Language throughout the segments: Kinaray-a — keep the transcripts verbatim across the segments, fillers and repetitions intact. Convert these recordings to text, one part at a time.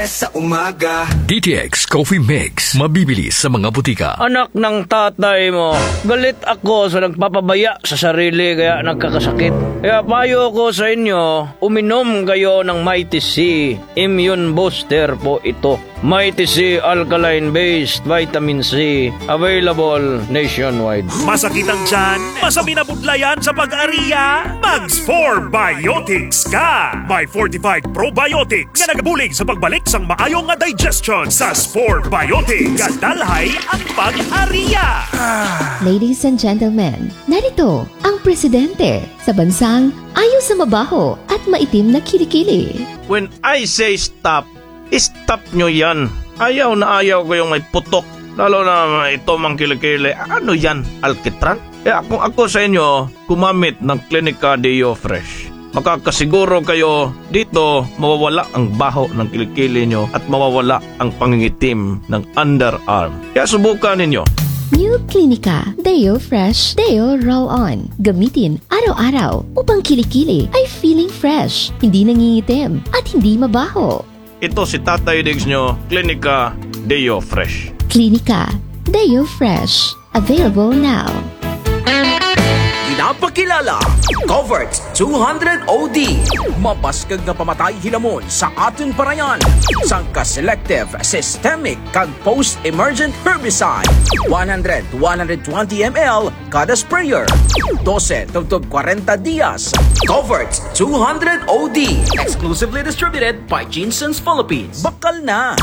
Sa umaga. D T X Coffee Mix, mabibili sa mga butika. Anak ng tatay mo, galit ako sa nagpapabaya sa sarili kaya nagkakasakit. Kaya payo ko sa inyo, uminom kayo ng Mighty C. Immune booster po ito. Mighty C alkaline-based vitamin C, available nationwide. Masakit ang tiyan? Masamin na budlayan sa pag-aria? Mag Spore Biotics ka! May fortified probiotics nga nagabulig sa pagbalik sang maayo nga digestion. Sa Spore Biotics, gadalhay ang pag-aria! Ladies and gentlemen, narito ang presidente sa bansang ayaw sa mabaho at maitim na kilikili. When I say stop, stop nyo yan. Ayaw na ayaw ko yung may putok. Lalo na ito mang kilikili. Ano yan? Alkitran? Kaya kung ako sa inyo, gumamit ng Clinica Deo Fresh. Makakasiguro kayo dito mawawala ang baho ng kilikili nyo at mawawala ang pangingitim ng underarm. Kaya subukan ninyo. New Clinica Deo Fresh Deo Roll-On. Gamitin araw-araw upang kilikili ay feeling fresh, hindi nangingitim, at hindi mabaho. Ito si Tatay Diggs nyo, Clinica Deo Fresh. Clinica Deo Fresh. Available now. Ginapakilala, Covert two hundred O D. Mabaskug nga pamatay hilamon sa atun parayan. Sangka selective, systemic, kag post-emergent herbicide. One hundred to one hundred twenty M L kada sprayer. Dose tubtob kwarenta dias. Covert two hundred O D. Exclusively distributed by Jeanson's Philippines. Bakal na.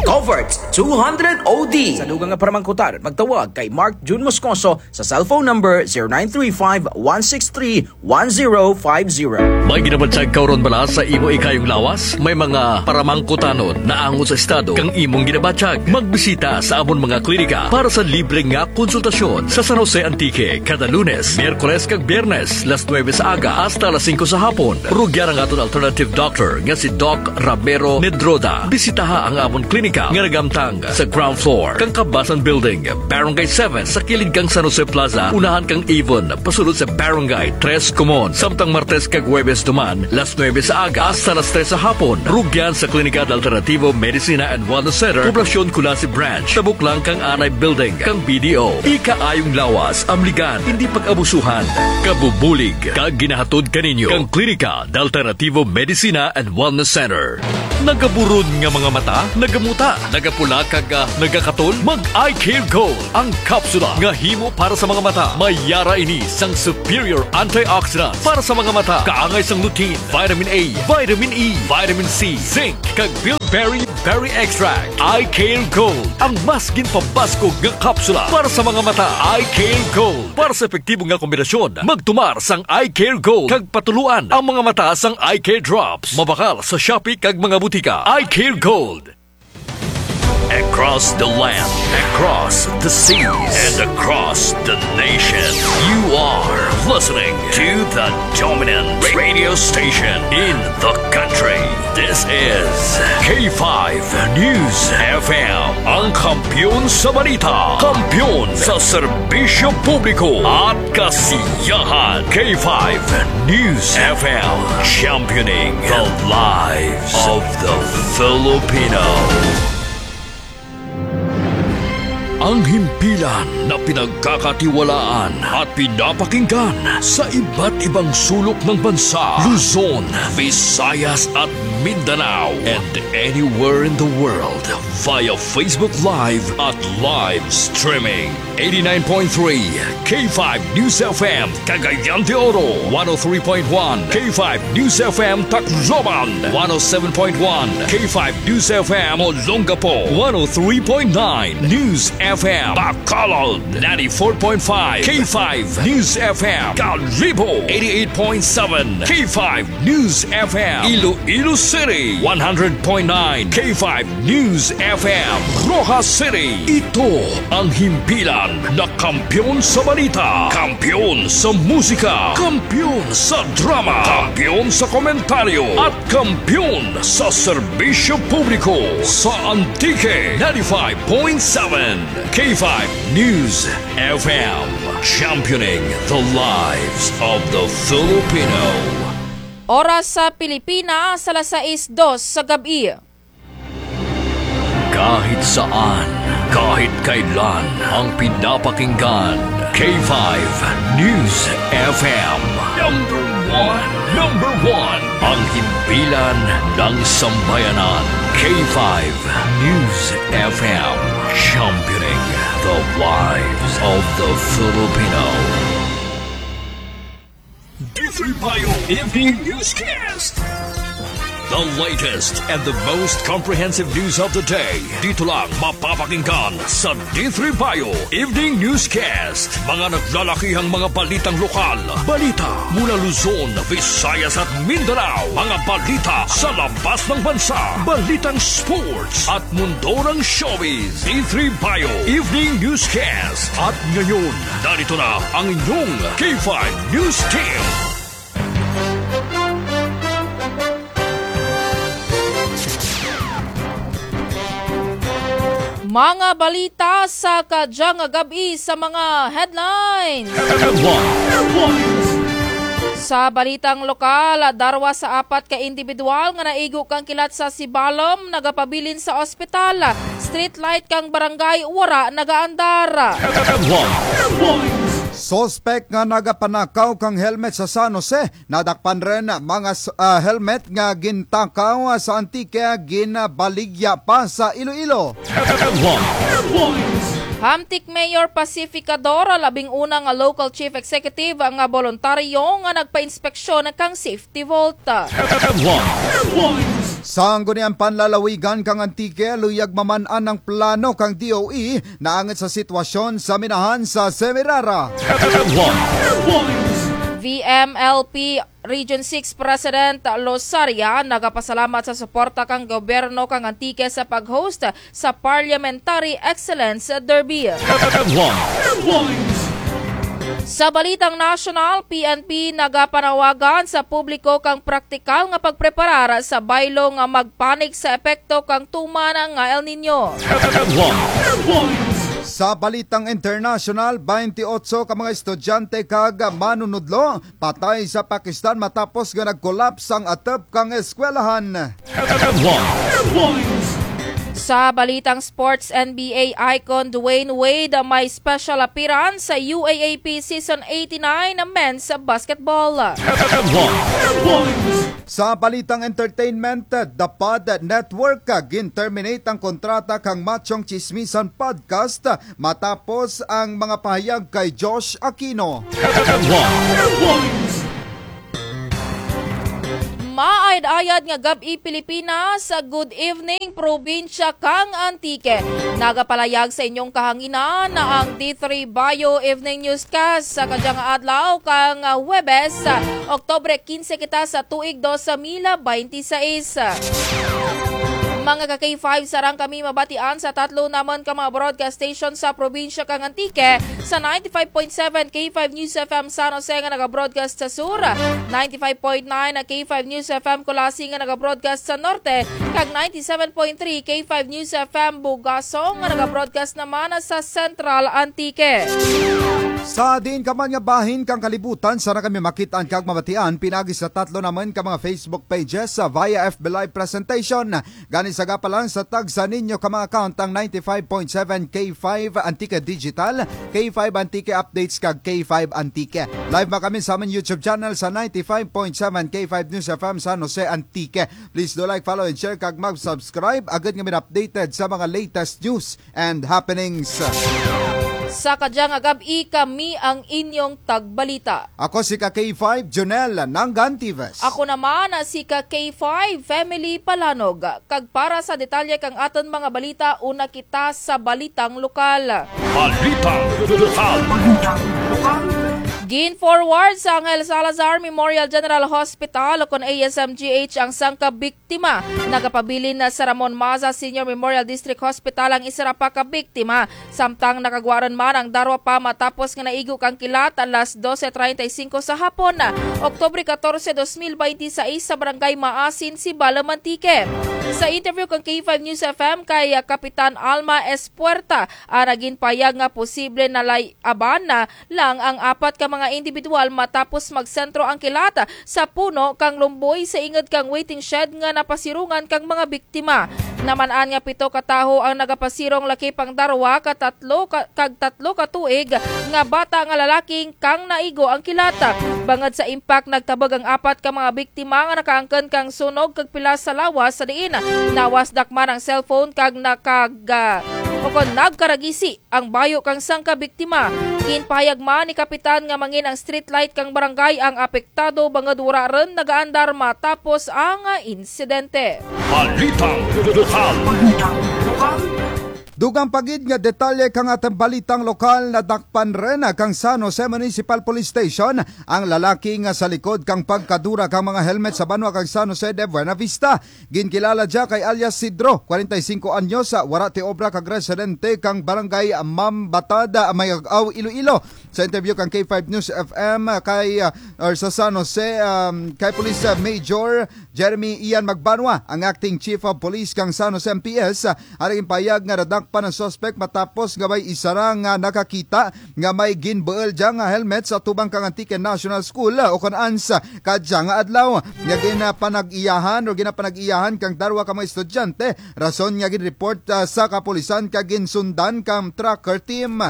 Covert two hundred O D. Sa dugang nga paramangkutan, magtawag kay Mark Jun Moscoso sa cellphone number zero nine three five one six three one zero five zero. May ginabatyag ka run bala sa imo ikayong lawas? May mga paramangkutanon naangot sa estado kang imong ginabatyag? Magbisita sa amon mga klinika para sa libre nga konsultasyon sa San Jose, Antique, kada Lunes, Miyerkules kag Biyernes, las nuebe sa aga hasta las singko sa hapon. Rugyan ang aton alternative doctor nga si Doc Ramiro Nedroda. Bisitaha ang amon klinika nga nagamtang sa ground floor kang Kabasan Building, Barangay seven, sa kilid kang San Jose Plaza, unahan kang Avon, pasulod sa Barangay Tres Comuns. Samtang Martes kag Huwebes duman, las nuebe sa aga hasta las tres sa hapon. Rugyan sa Klinika de Alternativo Medicina and Wellness Center, Poblacion Culasi Branch, tabok lang kang Anay Building kang B D O. Ikaayong lawas, amligan, hindi pag-abusuhan. Kabubulig kag ginahatod kaninyo kang Klinika de Alternativo Medicina and Wellness Center. Nagaburod nga mga mata, nagamuta, nagapula kag, ah, nagakatol? Mag Eye Care Gold, ang kapsula nga himo para sa mga mata. May yara ini sang superior antioxidants para sa mga mata. Kaangay sang lutein, vitamin A, vitamin E, vitamin C, zinc, kag bilberry berry extract. Eye Care Gold, ang mas ginpabaskog nga kapsula para sa mga mata. Eye Care Gold. Para sa epektibo nga kombinasyon, magtumar sang Eye Care Gold kag patuluan ang mga mata sang Eye Care Drops. Mabakal sa Shopee kag mga butika. Eye Care Gold. Across the land, across the seas, and across the nation, you are listening to the dominant radio station in the country. This is K five News F M, ang kampiyon sa balita, kampiyon sa serbisyo publiko at kasiyahan. K five News F M, championing the lives of the Filipino. Ang himpilan na pinagkakatiwalaan at pinapakinggan sa iba't ibang sulok ng bansa, Luzon, Visayas at Mindanao, and anywhere in the world via Facebook Live at live streaming. Eighty-nine point three K five News F M, Cagayan de Oro, one oh three point one K five News F M Tacloban, one oh seven point one K five News F M Olongapo, one oh three point nine News F M Bacolod, ninety-four point five K five News F M Kalibo, eighty-eight point seven K five News F M Iloilo City, one hundred point nine K five News F M Roxas City. Ito ang himpilan na kampiyon sa balita, kampiyon sa musika, kampiyon sa drama, kampiyon sa komentaryo, at kampiyon sa serbisyo publiko. Sa Antique, ninety-five point seven K five News F M, championing the lives of the Filipino. Oras sa Pilipinas, alas sais dos sa gab-i. Kahit saan, kahit kailan, ang pinapakinggan, K five News F M. Number one, number one, ang himpilan ng sambayanan, K five News F M, championing the lives of the Filipino. D three Bio Evening Newscast. The latest and the most comprehensive news of the day. Dito lang mapapakinggan sa D three Bio Evening Newscast. Mga naglalakihang mga balitang lokal. Balita mula Luzon, Visayas at Mindanao. Mga balita sa labas ng bansa. Balitang sports at mundo ng showbiz. D three Bio Evening Newscast. At ngayon, narito na ang inyong K five News Team. Mga balita sa kadyang gab-i sa mga headlines. Headlines. Sa balitang lokal, darwa sa apat ka indibidwal nga naigo kang kilat sa Sibalom nagapabilin sa ospital. Street light kang barangay wara nagaandar. Suspek nga nagapanakaw kang helmet sa San Jose, nadakpan run mga s-, ah, helmet nga gintakaw sa Antique, ginbaligya pa sa Iloilo. Hamtic Mayor Pacificador, labing una nga local chief executive nga boluntaryo nga nagpainspeksyon kang safety vault. Sangguniang Panlalawigan kang Antique, luyag maman-an ang plano kang D O E naangot sa sitwasyon sa minahan sa Semirara. V M L P Region six President Losaria nagapasalamat sa suporta kang gobyerno kang Antique sa pag-host sa Parliamentary Excellence Derby. Sa balitang nasyonal, P N P nagapanawagan sa publiko kang praktikal nga pagpreparar sa baylo nga magpanik sa epekto kang tuman nga El Niño. Sa balitang internasyonal, baynte otso ka mga estudyante kag manunudlo patay sa Pakistan matapos nga nag-collapse ang atop kang eskwelahan. Sa balitang sports, N B A icon Dwyane Wade may special appearance sa U A A P Season eighty-nine Men's Basketball. Sa balitang entertainment, The Pod Network, gin-terminate ang kontrata kang Machong Chismisan Podcast matapos ang mga pahayag kay Josh Aquino. Maayad-ayad nga gab-i, Pilipinas. Good evening, probinsya kang Antique. Nagapalayag sa inyong kahanginan ang D three Bio Evening Newscast sa kadyang adlaw kang Huwebes, Oktubre kinse kita sa tuig dos mil baynte sais. Mga ka K five, sarang kami mabatian sa tatlo namun ka mga broadcast station sa probinsya kang Antique, sa ninety-five point seven K five News F M San Jose nga naga-broadcast sa sur, ninety-five point nine K five News F M Culasi nga naga-broadcast sa norte, kag ninety-seven point three K five News F M Bugasong nga naga-broadcast naman sa Central Antique. Sa diin ka man nga bahin kang kalibutan, sarang kami makit-an kag mabatian pinaagi sa tatlo namun ka mga Facebook pages, sa via F B Live presentation. Gani sagapa lang sa tagsa ninyo ka mga account ang ninety-five point seven K five Antique Digital, K five Antique Updates kag K five Antique. Live man kami sa amun YouTube channel sa ninety-five point seven K five News F M San Jose, Antique. Please do like, follow, and share kag mag-subscribe agud nga ma-updated sa mga latest news and happenings. Sa kadyang gab-i, kami ang inyong tagbalita. Ako si ka K five, Jonel Nangantives. Ako naman si ka K five, Family Palanog. Kag para sa detalye kang atun mga balita, una kita sa balitang lokal. Balitang lokal. Gin-forward sa Angel Salazar Memorial General Hospital ukon A S M G H ang sangka biktima. Nagapabilin na sa Ramon Maza Senior Memorial District Hospital ang isara pa ka biktima. Samtang nakagwa run man ang darwa pa matapos nga naigo kang kilat alas doce treinta y cinco sa hapon, Oktubre catorce, dos mil baynte sais, sa Barangay Maasin, Sibalom, Antique. Sa interview kang K five News F M kay, ah, Kapitan Alma Espuerta, ang ginpahayag nga posible nalay-aban na lang ang apat ka mga nga indibidwal matapos magsentro ang kilat sa puno kang lumboy sa ingud kang waiting shed nga napasirungan kang mga biktima. Naman-an nga pito ka tawo ang nagapasirong lakip ang darwa ka tatlo ka, kag tatlo ka tuig nga bata nga lalaki kang naigo ang kilat. Bangud sa impact, nagtabog ang apat ka mga biktima nga nakaangkon kang sunog kag pilas sa lawas sa diin nawasdak man ang cellphone kag nakag-, ukon nagkaragisi ang bayo kang sangka biktima. Ginpahayag man ni Kapitan nga mangin ang street light kang barangay ang apektado, bangud wara run nagaandar matapos ang insidente. Balitang lokal. Dugang pa gid nga detalye kang atun balitang lokal, nadakpan run kang San Jose Municipal Police Station ang lalaki nga sa likod kang pagkadura kang mga helmet sa banwa kang San Jose de Buenavista. Ginkilala dya kay alias Sidro, kwarenta y singko anyos, wara ti obra kag residente kang barangay Mambatad, Mayag-aw, Iloilo. Sa interview kang K five News F M kay, ah, or sa San Jose, um, kay Police, ah, Major Jeremy Ian Magbanwa, ang acting chief of police kang San Jose M P S, ah, ang ginpahayag nga nadakpan ang suspek matapos nga may isara nga nakakita nga may ginbuul dya nga helmet sa atubang kang Antique National School, ah, ukon-an sa kadya nga adlaw. Nga ginapanag-iyahan o ginapanag-iyahan kang darwa ka mga estudyante, rason nga ginreport, ah, sa kapulisan kag ginsundan kang tracker team.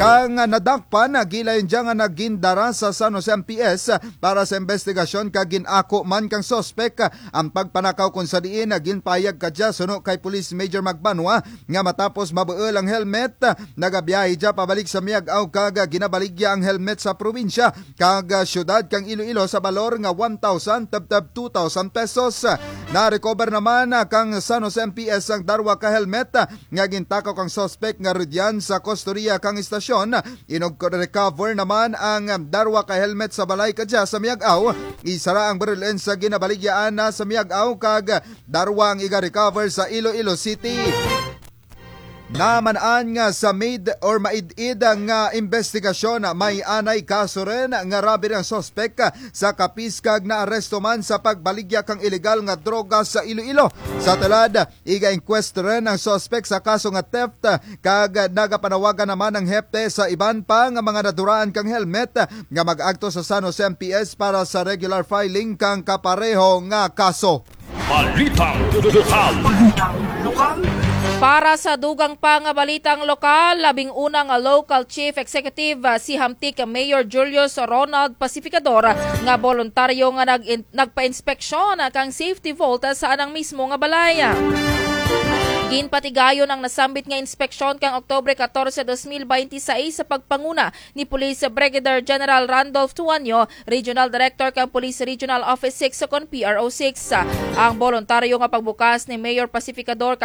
Kang, ah, nadakpan, ah, gilayon dya nga nagindara sa San Jose M P S, ah, para sa imbestigasyon kag gin-ako man kang suspek, ah, ang pagpanakaw, kon sa diin, ah, ginpahayag kadya suno kay Police Major Magbanwa, nga matapos mabuul ang helmet, nagabiyahe dya pabalik sa Miag-aw kag ginabaligya ang helmet sa probinsya kag syudad kang Iloilo sa balor nga one thousand tubtub two thousand pesos. Na-recover naman kang San Jose M P S ang darwa ka helmet nga gintakaw kang suspek nga rudyan sa kustorya kang estasyon. Inugrecover naman ang darwa ka helmet sa balay kadya sa Miag-aw. Isara ang baril-un sa ginabaligyaan na sa Miag-aw kag darwa ang iga-recover sa Iloilo City. Naman-an nga sa made or maid-id nga imbestigasyon, may anay kaso run nga robbery ang suspek sa Capiz kag naaresto man sa pagbaligya kang ilegal nga droga sa Iloilo. Sa tulad, iga-inquest run ang suspek sa kaso nga theft, kag nagapanawagan naman ang hepde sa iban pa nga mga naduraan kang helmet nga mag-agto sa San Jose M P S para sa regular filing kang kapareho nga kaso. Balitang lokal. Para sa dugang pa nga balitang lokal, labing una nga local chief executive, ah, si Hamtic Mayor Julius Ronald Pacificador, ah, nga boluntaryo nga nag-in-, nagpa-inspeksyon, ah, kang safety vault, ah, sa anang mismo nga balay. Ginpatigayon ang nasambit nga inspeksyon kang Oktubre katorse, dos mil baynte sais sa pagpanguna ni Police Brigadier General Randolph Tuanyo, Regional Director kang Police Regional Office six kon P R O six. Ang boluntaryo nga pagbukas ni Mayor Pacificador